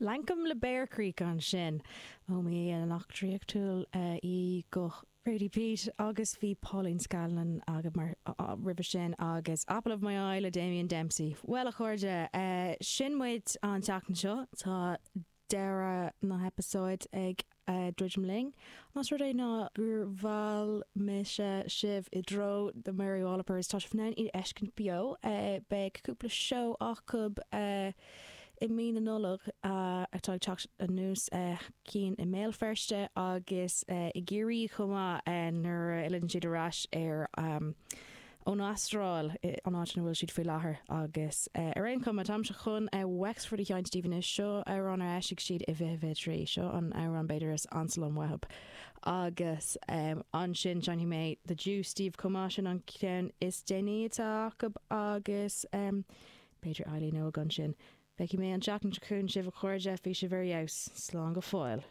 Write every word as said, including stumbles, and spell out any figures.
Lankum le Bear Creek ansin ó mí an eachtraíochtúil í go Radie Peat agus bhí Pauline Scanlon agam mar roimhe sin agus Apple of My Eye le Damien Dempsey. Well a chairde sin muid an tseachtain seo tá deireadh na heipeasóid ag druidim linn. Más rud é ná gur mheall mise sibh i dtreo The Mary Wallopers tá sibh in ann iad a fheiscint beo beidh cúpla seó acu i mí na Nollag atá ag teacht anuas cinn i mBéal Feirste agus i gCiarraí chomh maith nuair a fhilleann siad ar ais ar ón Astráil an áit ina bhfuil siad faoi láthair agus ar aon chuma táimse chun Wexford a sheinnt daoibh anois seo amhrán ar eisigh siad i fiche fiche trí seo an amhrán b'fhéidir is ansa liom uathu agus ansin seinnfidh mé The Juice daoibh chomh maith sin an ceann is déanaí atá acu agus b'fhéidir Eileen Óg ansin. Feicfidh mé an tseachtain seo chugainn sibh a chairde bhí sibh ar fheabhas slán go fóill.